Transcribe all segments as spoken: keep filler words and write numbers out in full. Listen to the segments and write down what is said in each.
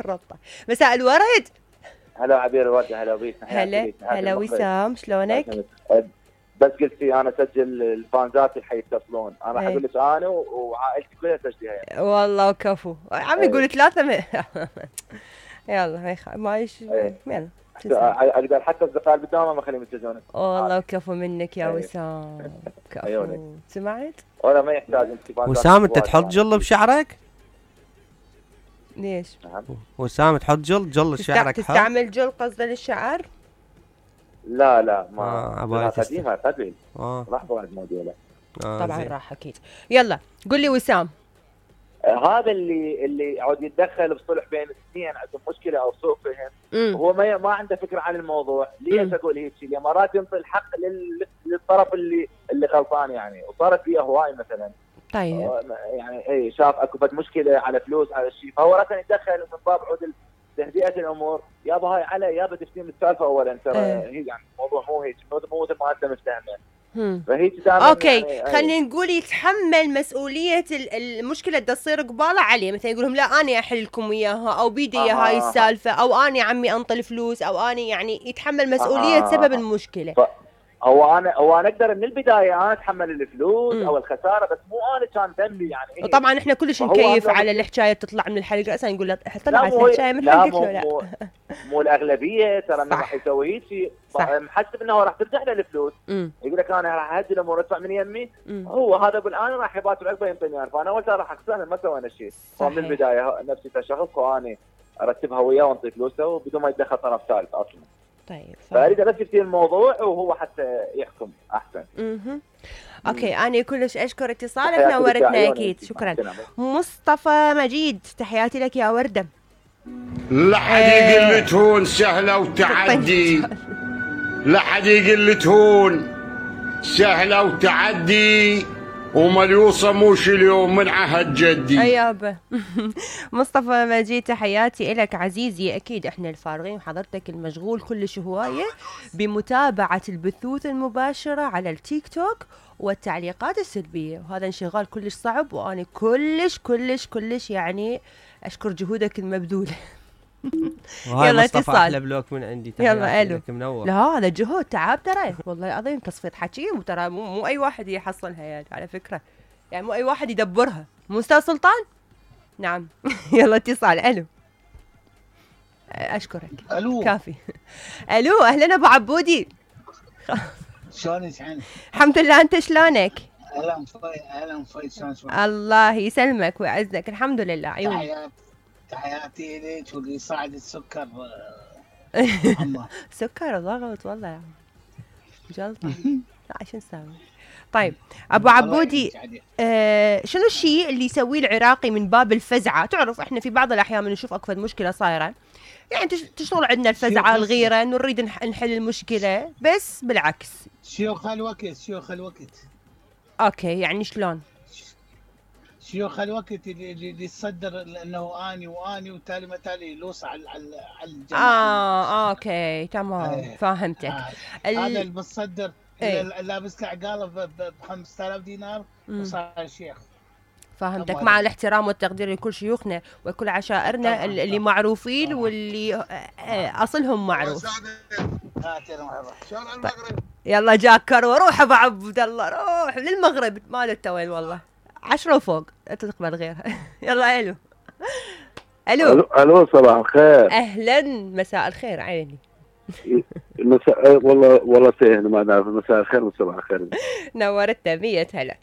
الربطة. مساء الورد. هلا عبير الورد. هلا بيك. هلا هلا وسام، شلونك؟ بس قلتي انا اسجل الفانزات اللي حيتصلون، انا راح اقول لك انا وعائلتي كلها تسجلها يعني. والله وكفو عم يقول ثلاثة م... يلا ما يخ... ما يش يلا اقدر حتى اصدقاء بالدوام ما اخليهم يسجلون. والله وكفو منك يا وسام. كفو. سمعت؟ ولا ما يحتاج انت. وسام انت تحط جل بشعرك؟ ليش؟ وسام تحط جل جل شعرك؟ تستعمل جل قصده للشعر؟ لا لا ما آه قديمة قبل. آه. راح بعد موديله. آه طبعا زي. راح اكيد. يلا قل لي وسام. آه هذا اللي اللي يعود يتدخل بصلح بين الاثنين عندهم مشكله او سوء فهم، هو ما ما عنده فكره عن الموضوع. ليش اقول هيك شيء؟ مرات ينطي الحق لل... للطرف اللي اللي غلطان يعني، وصارت فيه هواي مثلا. طيب يعني اي شاف اكو فد مشكله على فلوس على شيء، فهو راسا يتدخل من باب عود تهدئه الامور. يابا هاي علي يابا تفتين السالفه اولا ترى هي يعني الموضوع مو هيك، مو مثل ما انت مستعمل. فهي اوكي يعني خلينا نقول يتحمل مسؤوليه المشكله اللي تصير قباله عليه، مثلا يقول لهم لا انا احل لكم اياها او بيدي آه هاي السالفه او انا عمي انطي الفلوس او انا يعني يتحمل مسؤوليه آه سبب المشكله. ف... هو انا هو انا اقدر من البدايه انا اتحمل الفلوس م. او الخساره، بس مو انا كان ذنبي يعني. إيه؟ وطبعا احنا كلش نكيف على الحكايه تطلع من الحلقه، اصلا نقول له طلعت الحكايه من حلقتك. لا مو, مو الاغلبيه ترى انه راح يسوي هيك شيء محسب انه راح ترجع له الفلوس. يقول لك انا راح اهدي الامور ادفع من يمي. م. هو هذا يقول انا راح يبات العقبه ينطيني، فانا اول راح اخسر ما سوينا شيء. فمن البدايه نفسي كشخص وانا ارتبها وياه وانطي فلوسه وبدون ما يتدخل طرف ثالث اصلا. طيب فاريد بس يفتي الموضوع وهو حتى يحكم احسن. اها اوكي انا كلش اشكر اتصالك، نورتنا اكيد. شكرا. مصطفى مجيد تحياتي لك يا ورده. لا حد يقول لي تهون سهله وتعدي، لا حد يقول لي تهون سهله وتعدي، ومليوصه موش اليوم من عهد جدي. ايابا. مصطفى مجيد تحياتي لك عزيزي. اكيد احنا الفارغين وحضرتك المشغول كلش هوايه بمتابعه البثوث المباشره على التيك توك والتعليقات السلبيه، وهذا انشغال كلش صعب، وانا كلش كلش كلش يعني اشكر جهودك المبذوله. يلا اتصال. احلى بلوك من عندي. يلا الو. منور. لا هذا جهود تعب ترى والله العظيم، تصفية حكي وترى مو, مو اي واحد يحصلها يعني على فكره، يعني مو اي واحد يدبرها. مو استاذ سلطان؟ نعم. يلا اتصال. الو. اشكرك. الو. كافي. الو اهلا ابو عبودي. شلونك عنك؟ الحمد لله، انت شلونك؟ اهلا مفيد اهلا مفيد. شلونك؟ الله يسلمك ويعزك. الحمد لله. عيوني. تحياتي تحياتي لك واللي يصعد السكر. سكر ضغط والله يعني جلطه. لا شو نسوي؟ طيب ابو عبودي، آه شنو الشيء اللي يسويه العراقي من باب الفزعه؟ تعرف احنا في بعض الاحيان نشوف اكو مشكله صايره يعني تشتغل عندنا الفزعه الغيره انه نريد نحل المشكله، بس بالعكس شيوخ الوقت شيوخ الوقت. اوكي يعني شلون؟ شيوخ الوقت اللي اللي يتصدر انه اني واني وتالي ما تالي لوص على على الجماعه. اه اوكي تمام. ايه. فهمتك. آه. ال... هذا المتصدر ايه. لابس له عقاله ب خمسة آلاف دينار وصار شيخ. فهمتك. مع الاحترام والتقدير لكل شيوخنا وكل عشائرنا طبعاً اللي طبعاً معروفين طبعاً واللي اصلهم معروف. طيب. يلا جاك كرو، روح ابو عبد الله روح للمغرب، ما له وين والله عشرة وفوق تقبل غيرها. يلا الو. الو الو صباح الخير. اهلا مساء الخير عيني. مساء والله والله سهل ما نعرف. مساء الخير وصباح الخير. نورتنا مية هلا.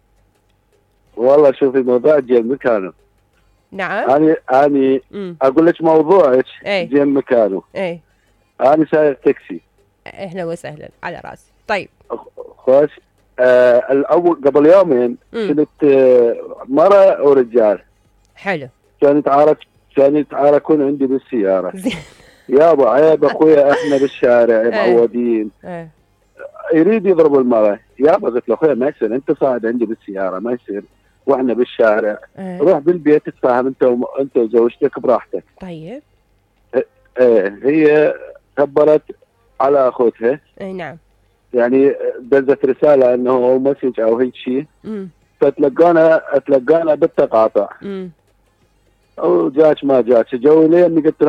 والله شوفي موضوع جيم مكانه. نعم. اني اني م. اقول لك موضوعك جيم مكانه. اي انا سايق تاكسي. اهلا وسهلا على راسي. طيب خوش. آه الاول قبل يومين كنت آه مرة ورجال. حلو. كانوا يتعارك كانوا يتعاركون عندي بالسيارة. يابا عيب اخويا احنا بالشارع معودين. اه. يريد يضرب المرأة. يابا قلت له اخويا ما يصير، انت صاعد عندي بالسيارة ما يصير واحنا بالشارع. اه. روح بالبيت تتفاهم انت و... انت وزوجتك براحتك. طيب. ايه هي كبرت على اخوتها. اي نعم. يعني دزت رسالة انه او مسج او هيك شيء. فتلقانا تلقانا بالتقاطع. امم او جاك ما جاك جو لي اني قلت